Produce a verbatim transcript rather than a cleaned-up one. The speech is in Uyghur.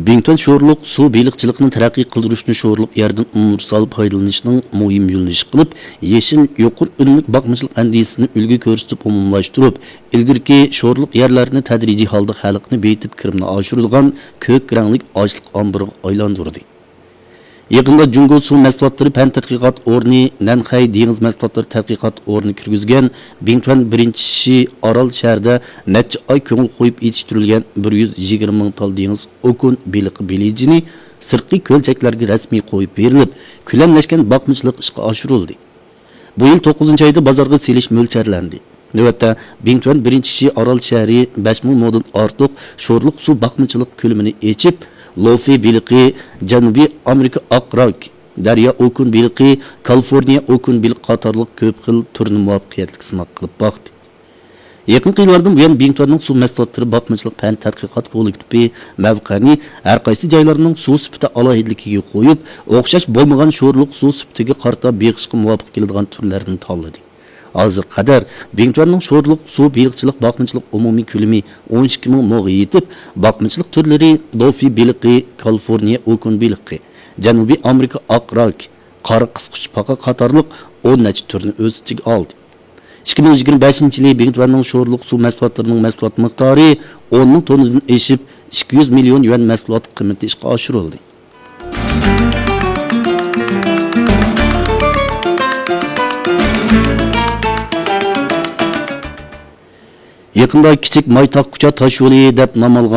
بىڭتۈەن شورلۇق سۇ بېلىقچىلىقىنى تەرەققىي قىلدۇرۇشنى شورلۇق يەردىن ئۇنىۋېرسال پايدىلىنىشنىڭ مۇھىم يۆنىلىشى قىلىپ، يېشىل، يۇقىرى ئۈنۈملۈك باقمىچىلىق ئەندىزىسىنى ئۈلگە كۆرسىتىپ ئومۇملاشتۇرۇپ، ئىلگىرىكى شورلۇق يەرلەرنى تەدرىجىي ھالدا خەلقنى بېيىتىپ، كىرىمنى ئاشۇرىدىغان كۆك رەڭلىك ئاشلىق ئامبىرىغا ئايلاندۇردى. يېقىندا جۇڭگو سۇ مەھسۇلاتلىرى پەن تەتقىقات ئورنى نەنخەي دېڭىز مەھسۇلاتلىرى تەتقىقات ئورنى كىرگۈزگەن بىڭتۈەن بىرىنچى شى ئارال شەھىرىدە نەچچە ئاي كۆڭۈل قويۇپ يېتىشتۈرۈلگەن بىر يۈز يىگىرمە مىڭ تال دېڭىز ئوكۇن بېلىقى بېلىجىنى سىرتقى كۆلچەكلەرگە رەسمىي قويۇپ بېرىلىپ، كۆلەملەشكەن باقمىچىلىق ئىشقا ئاشۇرۇلدى. بۇ يىل توققۇزىنچى ئايدا بازارغا سېلىش مۆلچەرلەندى. نۆۋەتتە، بىڭتۈەن بىرىنچى شى ئارال شەھىرى بەش مىڭ مودىن ئارتۇق شورلۇق سۇ باقمىچىلىق كۆلىمىنى ئېچىپ، لوفى بېلىقى، جەنۇبىي ئامېرىكا ئاق راك، دەريا ئوكۇن بېلىقى، كالىفورنىيە ئوكۇن بېلىقى قاتارلىق كۆپ خىل تۈرنى مۇۋەپپەقىيەتلىك سىناق قىلىپ باقتى. يېقىنقى يىللاردىن بۇيان، بىڭتۈەننىڭ سۇ مەھسۇلاتلىرى باقمىچىلىق پەن تەتقىقات كوللېكتىپى مەۋقەنى ھەر قايسى جايلارنىڭ سۇ سۈپىتى ئالاھىدىلىكىگە قويۇپ، ئوخشاش بولمىغان شورلۇق سۇ سۈپىتىگە قارىتا بېقىشقا مۇۋاپىق كېلىدىغان تۈرلەرنى تاللىدى. ھازىرغا قەدەر بىڭتۈەننىڭ شورلۇق سۇ بېلىقچىلىق باقمىچىلىق ئومۇمىي كۆلىمى ئون ئىككى مىڭ موغا يېتىپ، باقمىچىلىق تۈرلىرى دوفى بېلىقى، كالىفورنىيە ئوكۇن بېلىقى، جەنۇبىي ئامېرىكا ئاق راك، قارا قىسقۇچپاقا قاتارلىق ئون نەچچە تۈرنى ئۆز ئىچىگە ئالدى. ئىككى مىڭ يىگىرمە بەشىنچى يىلى بىڭتۈەننىڭ شورلۇق سۇ مەھسۇلاتلىرىنىڭ مەھسۇلات مىقدارى ئون مىڭ توننىدىن ئېشىپ، ئىككى يۈز مىليون يۈەن مەھسۇلات قىممىتى ئىشقا ئاشۇرۇلدى. يېقىندا كىچىك مايتاغ كۇچا تاشيولى دەپ نام ئالغان